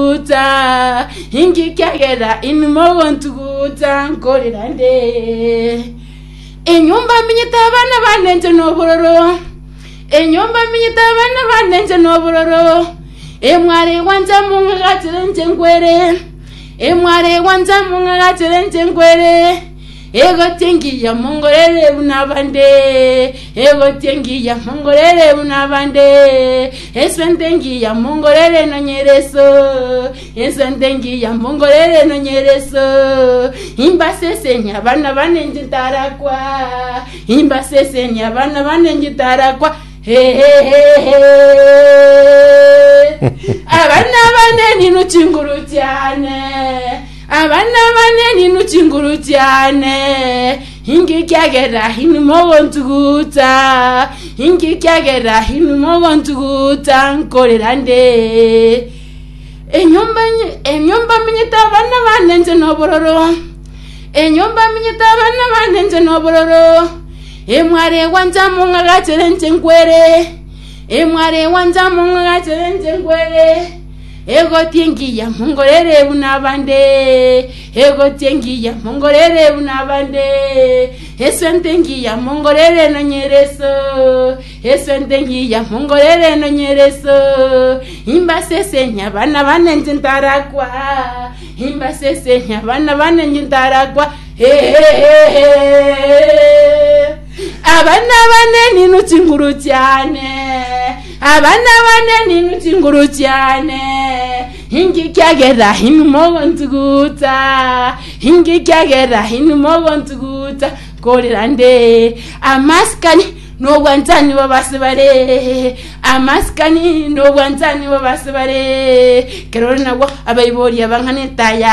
Ntuguta, inki kiagera inwe mogontuguta nkorera nde? Enyomba menyete abana bane inche nobororo, enyomba menyete abana bane inche nobororo, emware egwancha mong'agachere inche nkwere, emware egwancha mong'agachere inche nkwere. Egoti engiya mongorere buna abande, egoti engiya mongorere buna abande, esente engiya mongorere nonyere eso, esente engiya mongorere nonyere eso. Imbasesenie abana bane inche ntarakwa, imbasesenie abana bane inche ntarakwa, hehehehe. Abana bane ninwe chinguru chiane. Abana bane ninwe chinguru chiane, inki kiagera inwe mogontuguta? Inki kiagera inwe mogontuguta nkorera nde? Enyomba enyomba menyete abana bane inche nobororo, enyomba menyete abana bane inche nobororo, emware gwancha mong'agachere inche nkwere, emware gwancha mong'agachere inche nkwere. Egoti engiya mongorere buna abande, egoti engiya mongorere buna abande, esente engiya mongorere nonyere eso, esente engiya mongorere nonyere eso. Imbasesenie abana bane inche ntarakwa, imbasesenie abana bane inche ntarakwa, ehehehe. Abana bane ninwe chinguru chiane. Abana bane ninwe chinguru chiane, inki kiagera inwe mogontuguta? Inki kiagera inwe mogontuguta? Nkorera nde amasikani nobwanchani bw'abase bare, amasikani nobwanchani bw'abase bare, kerore nabwo abaibori abang'ana etaya.